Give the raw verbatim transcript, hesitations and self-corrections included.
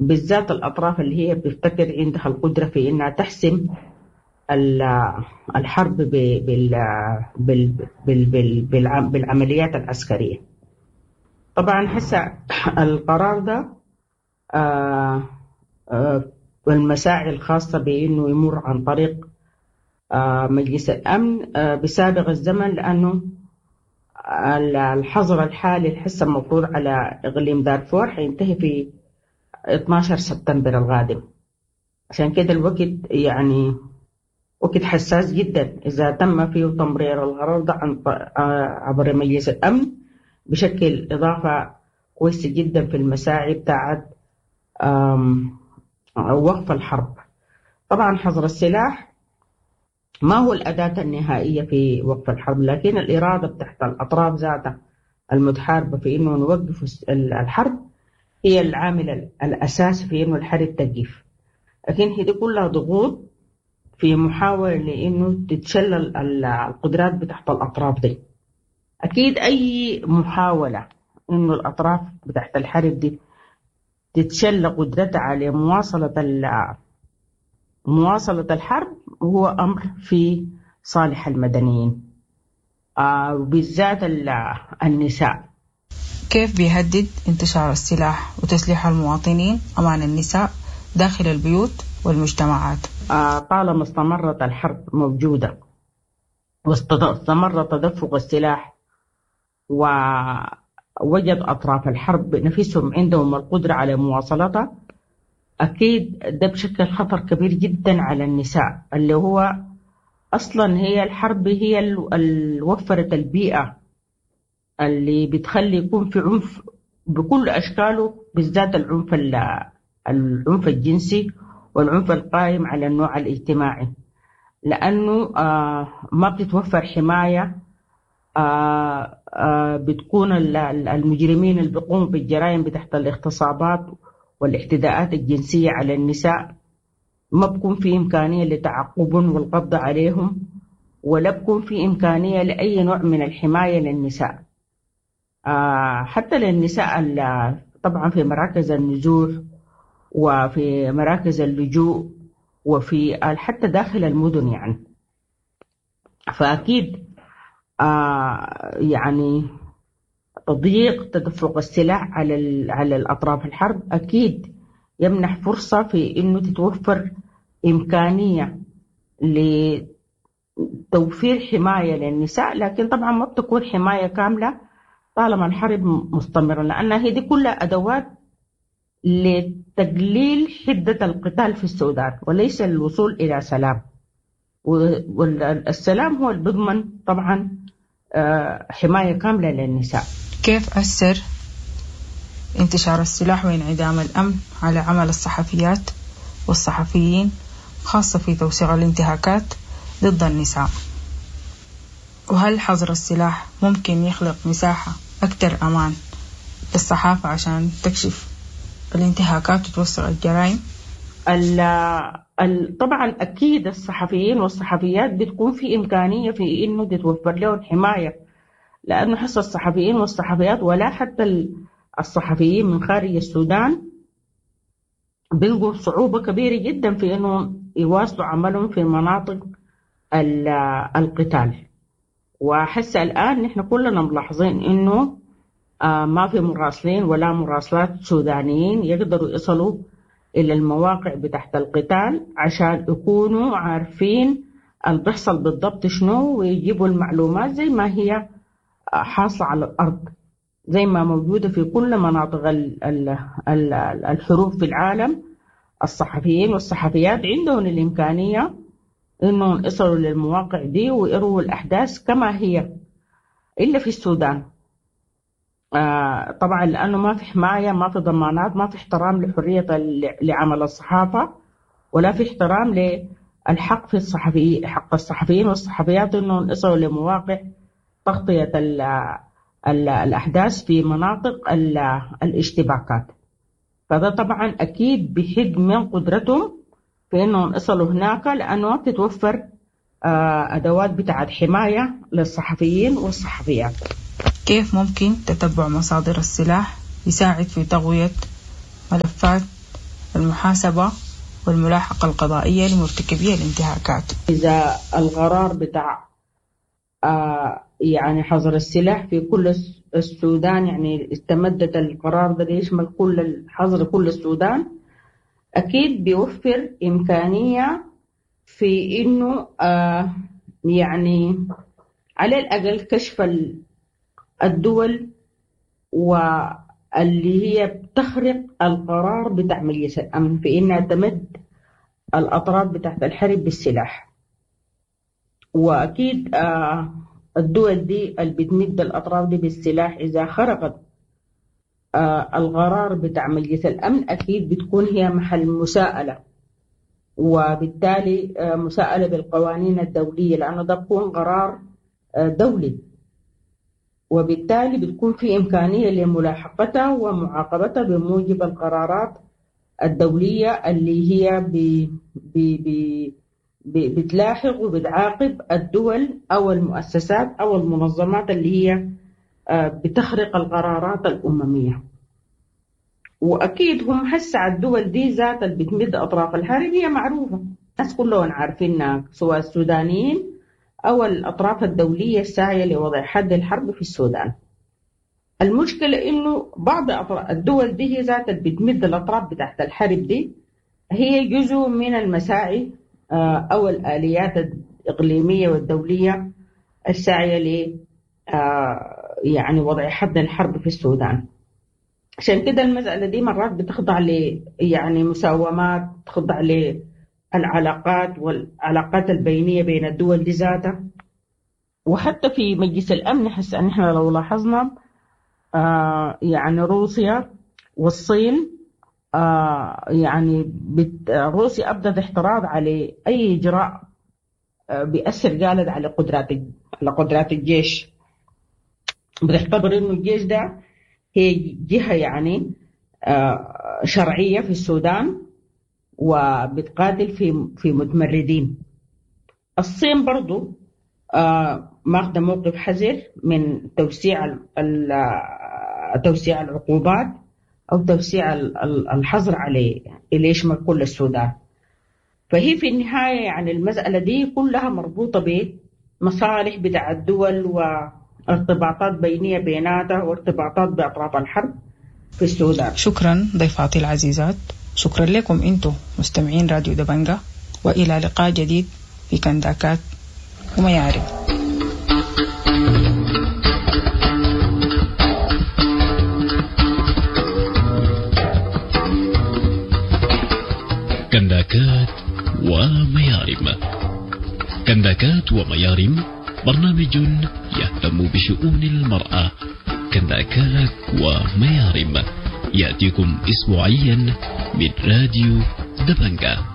بالذات الأطراف اللي هي بتفتكر عندها القدرة في إنها تحسم الحرب بالعمليات العسكرية. طبعا هسه القرار ده آه آه والمساعي الخاصة بأنه يمر عن طريق آه مجلس الأمن بسابق الزمن، لأنه الحظر الحالي الحسه المفروض على إقليم دارفور حينتهي في اتناشر سبتمبر القادم. عشان كده الوقت يعني وقت حساس جدا، إذا تم فيه تمرير القرار ده عن عبر مجلس الأمن بشكل إضافة كويسة جدا في المساعي بتاعت وقف الحرب. طبعا حظر السلاح ما هو الأداة النهائية في وقف الحرب، لكن الإرادة بتاعت الأطراف ذاتها المتحاربة في إنه نوقف الحرب هي العامل الأساسي في إنه الحرب تقف. لكن هي دي كلها ضغوط في محاولة لإنه تتشلل القدرات بتاعت الأطراف دي. أكيد أي محاولة إنه الأطراف بتاعت الحرب دي تتشل قدرتها على مواصلة مواصلة الحرب هو أمر في صالح المدنيين، آه وبالذات النساء. كيف بيهدد انتشار السلاح وتسليح المواطنين أمان النساء داخل البيوت والمجتمعات؟ آه طالما استمرت الحرب موجودة واستمر تدفق السلاح ووجد أطراف الحرب نفسهم عندهم القدرة على مواصلتها، أكيد ده بشكل خطر كبير جدا على النساء، اللي هو أصلا هي الحرب هي اللي وفرت البيئة اللي بتخلي يكون في عنف بكل أشكاله، بالذات العنف العنف الجنسي والعنف القائم على النوع الاجتماعي، لأنه آه ما بتتوفر حماية، آه آه بتكون المجرمين اللي بيقوموا بالجرائم بتحت الاغتصابات والاعتداءات الجنسية على النساء ما بكون في إمكانية لتعقبهم والقبض عليهم، ولا بكون في إمكانية لأي نوع من الحماية للنساء، آه حتى للنساء طبعا في مراكز النزوح وفي مراكز اللجوء وفي حتى داخل المدن يعني. فأكيد آه يعني تضييق تدفق السلاح على على الأطراف الحرب أكيد يمنح فرصة في إنه تتوفر إمكانية لتوفير حماية للنساء، لكن طبعا ما بتكون حماية كاملة طالما الحرب مستمرة، لأنها هي دي كلها أدوات لتقليل حدة القتال في السودان وليس الوصول إلى سلام، والسلام هو اللي بيضمن طبعا حماية كاملة للنساء. كيف أثر انتشار السلاح وانعدام الأمن على عمل الصحفيات والصحفيين، خاصة في توثيق الانتهاكات ضد النساء؟ وهل حظر السلاح ممكن يخلق مساحة أكثر أمان للصحافة عشان تكشف الانتهاكات وتوثق الجرائم؟ ال ال طبعا أكيد الصحفيين والصحفيات بتكون في إمكانية في إنه تتوفر لهم حماية، لأنه حصة الصحفيين والصحفيات ولا حتى الصحفيين من خارج السودان بيلقوا صعوبة كبيرة جدا في إنه يواصلوا عملهم في مناطق القتال. وحس الآن نحن كلنا ملاحظين إنه ما في مراسلين ولا مراسلات سودانيين يقدروا يصلوا إلى المواقع بتاعت القتال عشان يكونوا عارفين اللي بيحصل بالضبط شنو ويجيبوا المعلومات زي ما هي حاصلة على الأرض، زي ما موجودة في كل مناطق الحروب في العالم. الصحفيين والصحفيات عندهم الإمكانية إنهم يصلوا للمواقع دي ويروا الأحداث كما هي، إلا في السودان آه طبعا لأنه ما في حماية، ما في ضمانات، ما في احترام لحرية لعمل الصحافة، ولا في احترام للحق في الصحفي حق الصحفيين والصحفيات إنهم يصلوا لمواقع تغطية ال ال الأحداث في مناطق ال الاشتباكات. فده طبعا أكيد بحد من قدرتهم في إنهم يصلوا هناك، لأنه ما بتتوفر آه أدوات بتاعت حماية للصحفيين والصحفيات. كيف ممكن تتبع مصادر السلاح يساعد في تغوية ملفات المحاسبة والملاحقة القضائية لمرتكبي الانتهاكات. إذا القرار بتاع آه يعني حظر السلاح في كل السودان، يعني استمدت القرار ده ليشمل كل الحظر كل السودان، أكيد بيوفر إمكانية في إنه آه يعني على الأقل كشف الدول واللي هي بتخرق القرار بتاع مجلس الأمن في إنها تمد الأطراف بتاعت الحرب بالسلاح. وأكيد آه الدول دي اللي بتمد الأطراف دي بالسلاح إذا خرقت آه القرار بتاع مجلس الأمن أكيد بتكون هي محل مساءلة، وبالتالي آه مساءلة بالقوانين الدولية، لأنه ده بيكون قرار آه دولي، وبالتالي بتكون في إمكانية لملاحقتها ومعاقبتها بموجب القرارات الدولية اللي هي بي بي بي بتلاحق وبتعاقب الدول أو المؤسسات أو المنظمات اللي هي بتخرق القرارات الأممية. وأكيد هم حس على الدول دي ذات اللي بتمد أطراف الحرب هي معروفة، الناس كلهم عارفينها، سواء السودانيين أو الأطراف الدولية الساعية لوضع حد الحرب في السودان. المشكلة إنه بعض الدول دي هي ذات اللي بتمد الأطراف بتاعت الحرب دي هي جزء من المساعي أو الآليات الإقليمية والدولية الساعية ل يعني وضع حد الحرب في السودان. عشان كده المسألة دي مرات بتخضع ل يعني مساومات، تخضع للعلاقات والعلاقات البينية بين الدول دي ذاتها. وحتى في مجلس الأمن حس أن إحنا لو لاحظنا آه يعني روسيا والصين آه يعني بت... روسيا أبدت احتراض على أي إجراء آه بيأثر قالت على قدرات على قدرات الجيش، بتعتبر إنه الجيش ده هي جهة يعني آه شرعية في السودان وبتقاتل في في متمردين. الصين برضو آه ماخذة موقف حذر من توسيع ال توسيع العقوبات أو توسيع الحظر عليه اللي يشمل كل السودان. فهي في النهاية يعني المسألة دي كلها مربوطة بمصالح بتاع الدول وارتباطات بينية بيناتها وارتباطات بأطراف الحرب في السودان. شكرا ضيفاتي العزيزات، شكرا لكم أنتم مستمعين راديو دبنجة، وإلى لقاء جديد في كنداكات وميارم. كنداكات وميارم. كنداكات وميارم برنامج يهتم بشؤون المرأة. كنداكات وميارم يأتيكم أسبوعيا من راديو دبنجة.